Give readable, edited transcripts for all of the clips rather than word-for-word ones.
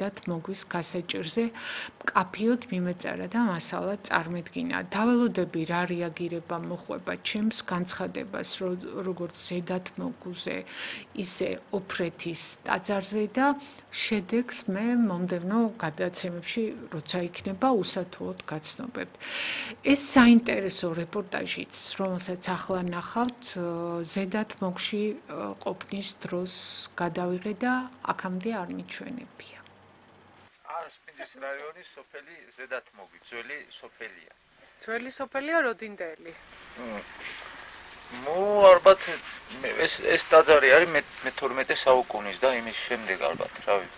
ზედათ მოგვის გასაჭირზე მკაფიოდ მიმეწერა და მასალა წარმოედგინა. დაველოდები რა რეაგირება მოხვება ჩემს განცხადებას, როგორც ზედათ მოგვზე, ისე ოფრეთის ტაძარზე და შედეგს მე მომდევნო გადაცემებში როცა იქნება უსათუოდ გაცნობებთ. ეს საინტერესო რეპორტაჟიც, რომელსაც ახლა ნახავთ, ზედათ მოგში ყოფნის დროს გადავიღე და აქამდე არ მიჩვენებია. სპინდის რაიონის სოფელი ზედათ მოგი, ძველი სოფელია. ძველი სოფელია როდინდელი. ალბათ ეს ტაძარი არის მე-12 საუკუნის და იმის შემდეგ ალბათ, რავი.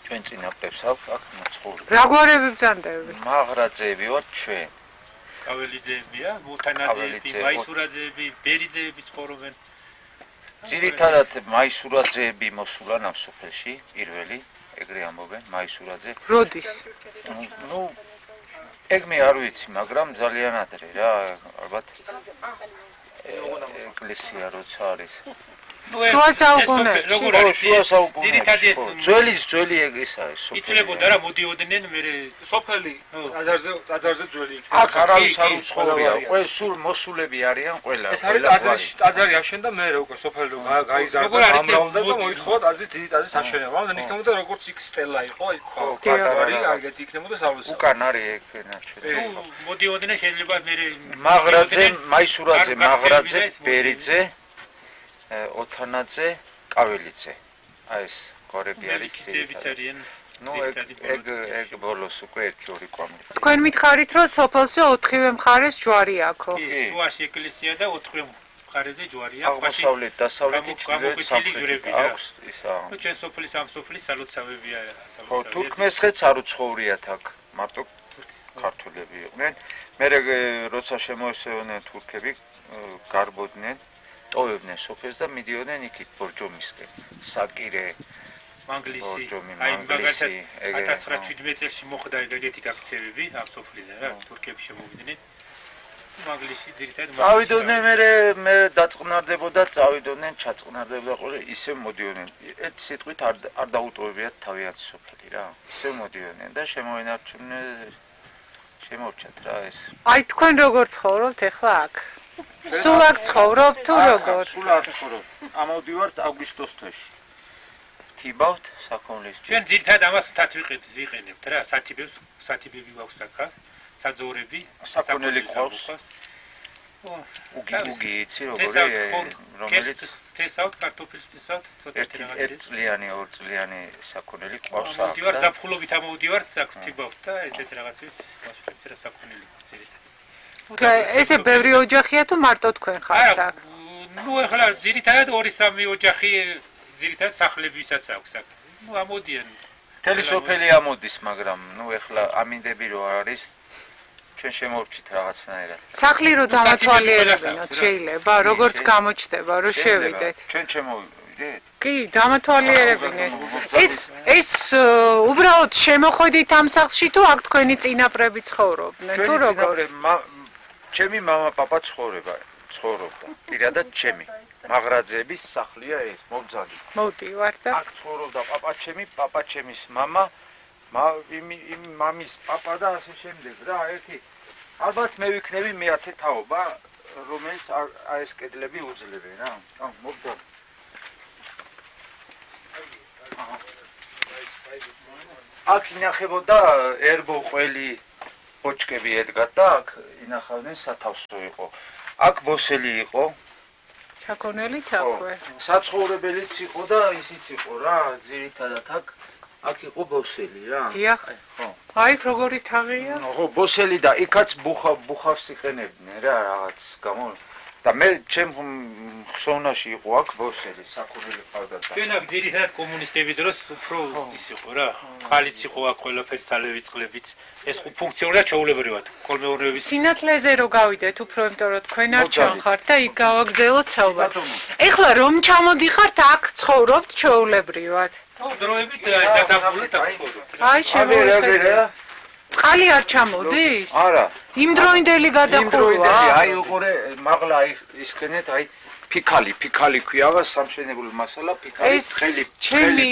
ჩვენ წინაპრებს აქვს აქ მოცხოვრები. რა გვარები ბრძანდები? მაღრაძეები ვართ ჩვენ. კაველიძეებია, მუთანაძეები, მაისურაძეები, ბერიძეები ცხოვრობენ. ძირითადად მაისურაძეები მოსულან ამ სოფელში, პირველი, ეგრე ამბობენ, მაისურაძე. როდის? ეგ მე არ ვიცი, მაგრამ ძალიან ადრე რა, ალბათ ეკლესია როცა არის. შუა საუკუნეებში. როგორ არის? ძირითადად ეს ძველი ეს არის სოფელი. იცლებოდა რა, მოდიოდნენ მე სოფელი ტაძარზე ძველი იქნება. აქ არავის არ უცხოვრია, ყველა სულ მოსულები არიან ყველა. ეს არის ტაძარი აშენდა მე უკვე სოფელი გაიზარდა ამრავლდა და მოითხოვა ტაძრის დიდი ტაძრის აშენება. ამიტომ იქნებოდა როგორც იქ სტელა იყო, იქ ტაძარი, აგეთი იქნებოდა სალოცავი. უკან არის ეგ ნაჩვენები. მოდიოდნენ შეიძლება მე მაღრაძე, მაისურაძე, მაღრაძე, ბერიძე, ოთანაძე, კაველიძე. აი ეს გვარები არის ძირითადად. ეგ ბოლოს უკვე 1-2 კვამლი. თქვენ მითხარით, რომ სოფელზე 4-ვე მხარეს ჯვარი აქვს. კი, შუაში ეკლესია და 4-ვე მხარეზე ჯვარია. აღმოსავლეთ, დასავლეთი, ჩრდილოეთ, სამხრეთი აქვს ისა. ჩვენ სოფლის ამ სოფლის სალოცავებია, ხო, თურქმესხეთს არ უცხოვრიათ აქ, მარტო ქართველები იყვნენ. მე როცა შემოესევნენ თურქები, გარბოდნენ, ტოვებდნენ სოფელს და მიდიოდნენ იქით ბორჯომისკენ. საკირე, მანგლისი, აი მაგალითად 1917 წელს მოხდა ეგეთი გაქცევები ამ სოფლიდან, რა თურქები შემოვიდნენ. მანგლისი ძირითადად წავიდოდნენ მე დაწყნარდებოდა, წავიდოდნენ, ჩაწყნარდებოდა ყოლე, ისე მოდიოდნენ. ერთ სიტყვით არ დაუტოვებიათ თავიანთი სოფელი რა. ისე მოდიოდნენ და შემორჩათ რა ეს. აი თქვენ როგორ ცხოვრობთ ახლა აქ? სულ აქ ცხოვრობთ თუ როგორ? სულ აქ ცხოვრობ. ამოვდივართ აგვისტოს თვეში. თიბავთ საქონლის. ჩვენ ძირითადად ამას მთად ვიყენებთ რა, სათიბები გვაქვს აქ, საძოვრები, საქონელი ყავს. უგი იცი რომელიც თესავთ, კარტოფილს თესავთ, ცოტა ერთი წლიანი, 2 წლიანი საქონელი ყავს აქ. მოვდივართ ზაფხულობით ამოვდივართ, აქ თიბავთ და ესეთ რაღაცის მასშტაბით რა საქონელი ძირითადად. ესე ბევრი ოჯახია თუ მარტო თქვენ ხართ აქ? ახლა ძირითადად 2-3 ოჯახი ძირითადად სახლებისაც აქვს აქ. ამოდიან. მთელი სოფელი ამოდის, მაგრამ ახლა ამინდები რო არის, ჩვენ შემოვჭით რაღაცნაირად. სახლი რო დამათვალიერებინოთ შეიძლება, როგორც გამოჩნდება, რომ შევიდეთ. ჩვენ შემოვიდეთ? კი, დამათვალიერებინეთ. ეს უბრალოდ შემოხვედით ამ სახლში თუ აქ თქვენი წინაპრები ცხოვრობდნენ, თუ როგორ? ჩემი მამა პაპა ცხოვრობდა. პირადად ჩემი. მაღრაძეების სახლია ეს, მობძალი. მოვდივართ და აქ ცხოვრობდა პაპა ჩემის მამა, მამის პაპა და ასე შემდეგ რა, ერთი. ალბათ მე ვიქნები მე-10 თაობა, რომელიც ეს კედლები უძლებენ რა. მობძალი. აქ ინახებოდა ერბო ყველი ბოჭკები ედგათ და აქ ინახავდნენ სათავსო იყო. აქ ბოსელი იყო. საქონელიც აქვე. საცხოვრებელიც იყო და ისიც იყო რა, ძირითადად აქ იყო ბოსელი რა. დიახ. ხო. აი როგორი თაღია? ხო, ბოსელი და იქაც ბუხავს იყენებდნენ რა რაღაც გამო. და მე ჩემ ხსოვნაში იყო აქ ბოსელი, საქონელი ყავდა. ჩვენ აქ ძირითადად კომუნისტები დროს უფრო ის იყო რა. წყალიც იყო აქ ყველაფერი სალევი წყლებიც. ეს ფუნქციონალურად ჩაულებრივად კოლმეურნეობის სინათლეზე რო გავიდეთ უფრო იმიტომ რომ თქვენ არ ჩანხართ და იქ გავაგრძელოთ საუბარი. ეხლა რომ ჩამოდიხართ აქ ცხოვრობთ ჩაულებრივად. ხო, დროებით სასაფლაოდ აქ ცხოვრობთ. აი შემოვიხედე. წყალი არ ჩამოდის? არა. იმდროინდელი გადახურვა. აი უყურე მაღლა ისქენეთ აი ფიქალი ქვია სამშენებლო მასალა ფიქალი თხელი ჩემი